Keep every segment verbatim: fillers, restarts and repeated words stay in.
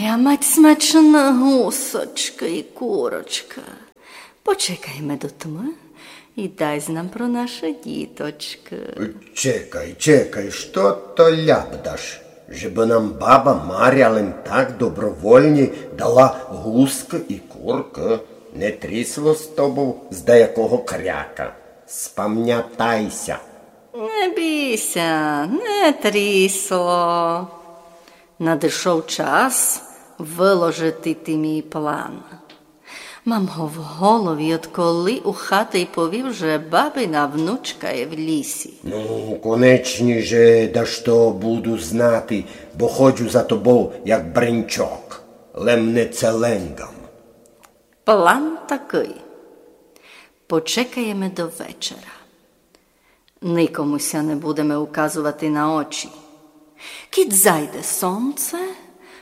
Я мать смачна гусочка і курочка. Почекайме до тмы і дайсь нам про наші діточкы. Чекай, чекай, што то ляпдаш? Же бы нам баба Маря лем так добровольні дала гускы і куркы? Не трісло з тобов з даякого кряка? Спамнятай ся. Не бій ся, не трісло. Надышов час выложити ти мій план. Мам го в голові, одколи у хаты й повів, же бабина внучка є в лісі. Ну, конечні же дашто буду знати, бо ходжу за тобов, як бренчок, лем не целенгам. План такый. Почекаєме до вечера. Никому ся не будеме указовати на очі. Кідь зайде сонце,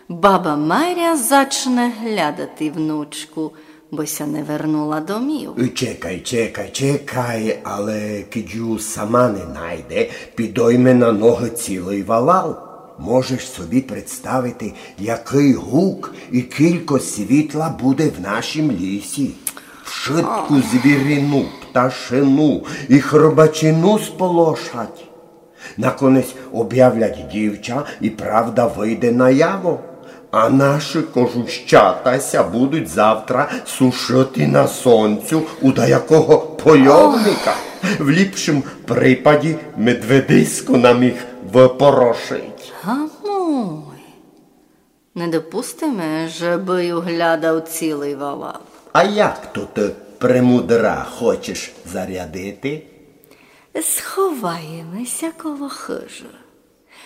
баба Маря зачне глядати внучку, бо ся не вернула домів. Чекай, чекай, чекай, але кідь ю сама не найде, підойме на ногы цілый валал. Можеш собі представити, якый гук і кілько світла буде в нашім лісі. Вшытку звірину, пташину і хробачину сполошать. Наконець обявлять дівча, і правда выйде наяво. А наші кожущата ся будуть завтра сушити на сонцю у даякого польовника. В ліпшім припаді медведисько нам їх выпорошить. Гамуй. Не допустиме, же бы ю глядав цілый валал. А як то ты, премудра, хочеш зарядити? Сховаєме ся коло хыжы.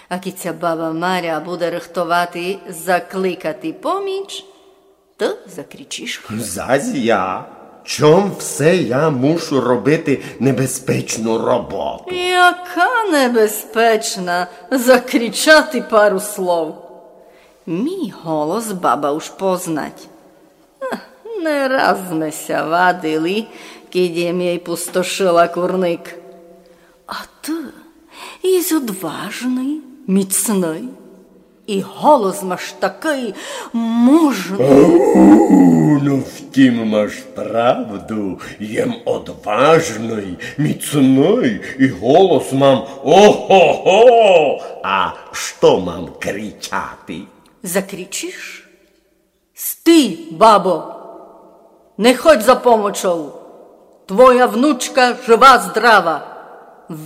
А кідь ся баба Маря буде рыхтовати закликати поміч, ты закричиш. Зась я? Чом все я мушу робити небезпечну роботу? Яка небезпечна? Закричати пару слов. Мій голос баба уж познать. Ех, не раз сьме ся вадили, кідь єм єй пустошила курник. А ты єсь одважный, міцный, і голос маш такый мужный. О, ну, втім, маш правду, єм одважный, міцный, і голос мам ого-го! А што мам кричати? Закричиш? Стій, бабо! Не ходь за помочов! Твоя внучка жива-здрава!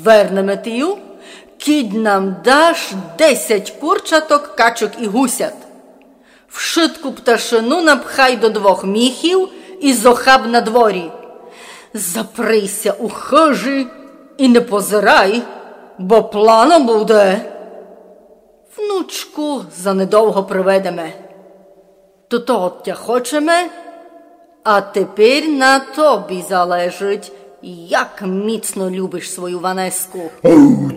Вернеме ти ю, кідь нам даш десять курчаток, качок і гусят. Вшытку пташину напхай до двох міхів і зохаб на дворі. Заприй ся у хыжі і не позирай, бо плано буде. Внучку занедовго приведеме. Тото од тя хочеме, а тепер на тобі залежить, як міцно любиш свою Ванеску. О,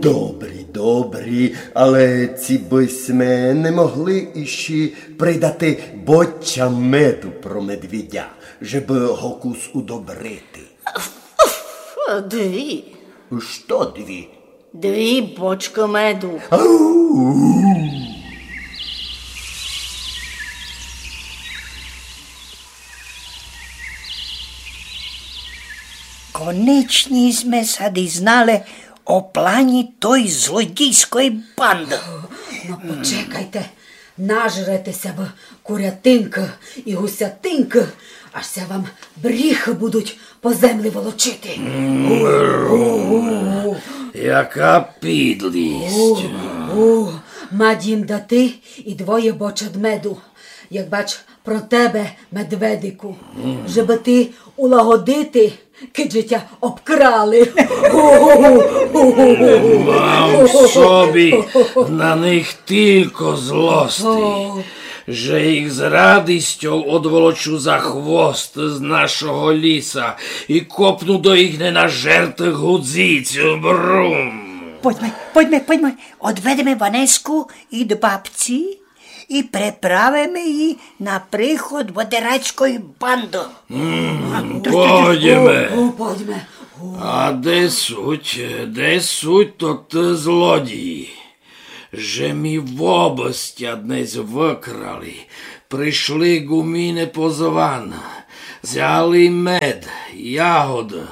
добрі, добрі, але ци бы сьме не могли іщи придати боча меду про медвідя, жебы го кус удобрити? Дві. Што дві? Дві бочкы меду. Ау! Конечні сьме ся дізнали о плані той злодійской банды. Но, почекайте. Нажрете ся вы курятинкы і гусятинкы, аж ся вам бріхы будуть по землі волочити. Мрум, яка підлість. У, у, мать їм дати і двоє бочат меду. Як бач, про тебе, медведику, жебы ти улагодити, кидь же тя обкрали. Мам собі на них тілько злости, же їх з радістю одволочу за хвост з нашого ліса і копну до їх ненажертых гудзиць. Брум. Пойдьме, пойдьме, пойдьме. Одведеме Ванеску ид бабці і приправиме її на приход водерацької банды. М, пойдеме. О, о, пойдеме. О. А де суть, де суть тоты злодії? Же мі вобыстя днесь выкрали, Пришли ґумины позван, взяли мед, ягоды,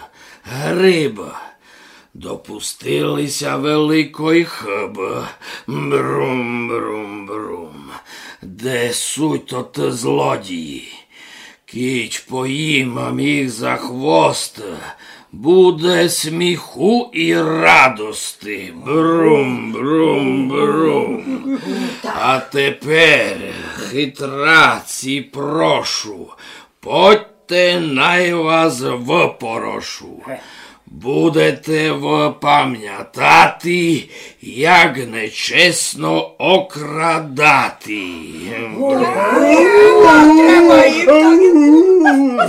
гриб. Допустили ся великой хыбы. Брум, брум, брум. Де суть тоты злодії? Кідь поїмам їх за хвост, буде сміху і радости. Брум, брум, брум. А тепер, хитраці, прошу, подьте, най вас выпорошу. Будете вы памятати, як нечесно окрадати.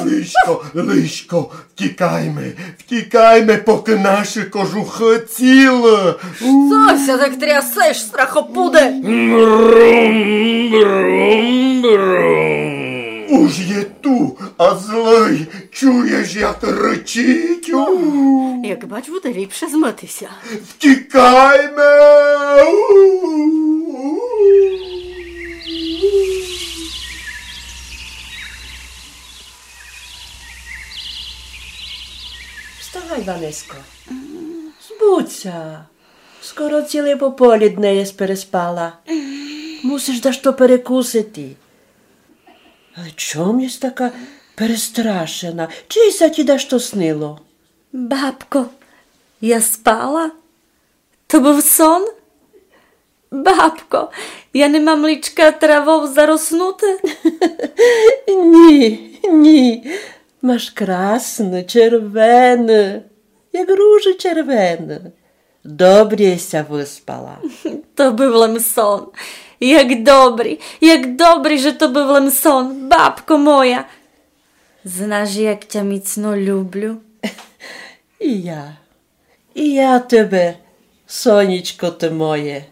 Лишко, лишко, втікайме, втікайме, покы наші кожухы цілы. Што ся так трясеш, страхопуде? Брум, брум, брум. Уж є ту, а злый, чуєш, як рычить? У. Як бач, буде ліпше змыти ся. Втікайме! Вставай, Ванеско. Збудь ся. Скоро ціле пополідне єс переспала. Мусиш дашто перекусити. Але чом єс така перестрашена? Чи ся ті дашто снило? Бабко, я спала? То быв сон? Бабко, я не мам личка травов зароснути? Ні, ні. Маш красне, червене, як ружа червена. Добрі ся выспала. То быв лем сон. Як добрі, як добрі, же то быв лем сон, бабко моя. Знаш, як тя міцно люблю. І я, і я тебе, сонечко ты моє.